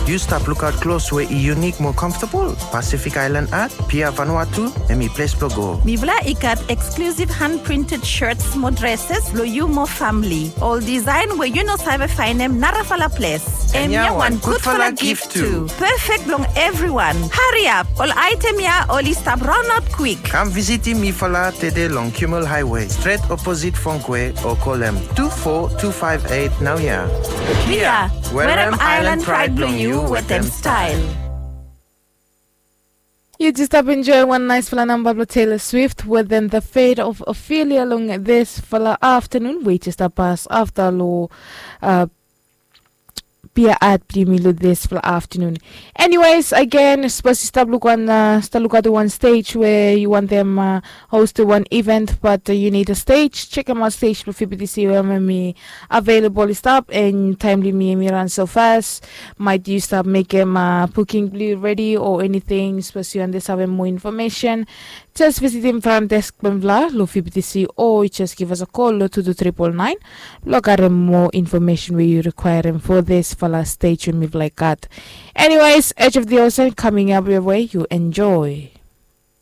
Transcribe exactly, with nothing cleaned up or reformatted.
Yu stap lukaot klos we i yunik mo comfortable? Pacific Island Art, Pia Vanuatu, hemi ples blong go. Mifala i gat exclusive hand printed shirts mo dresses blong yu mo famili. Ol design we yu no save faenem narafala ples. Hemia wan gudfala gift tu. Perfect blong evriwan. Hariap, ol aetem ya oli stap raonaot kwik. Kam visitim mifala tede long Kimmel Highway, stret oposit Fongkwe, o kolem tu fo tu faef eit naoia. Pia, werem Island Pride blong yu wetem style. Yu jes stap enjoy wan naesfala namba blong Taylor Swift wetem The Fate of Ophelia long disfala aftanun we jes stap pas afta long Pia Art blong yumi long disfala aftanun. Anyways, again, sapos yu stap luk wan, uh, stap lukaotem wan stage we yu wantem, uh, hostem wan event, but, uh, yu nid a stage, jekemaot stage blong P B T C we hemi available i stap, and taem blong yumi hemi ran so fas. Maet yu stap mekem, uh, booking blong yu redi o eniting, sapos yu wantem save moa infomesen, jes visitim front desk blong mifala long P B T C, o yu jes give us a call long two two triple nine blong karem moa infomesen we yu rikwaerem for disfala stage we mifala i gat. Anyways, Edge of the Ocean coming up your way. You enjoy.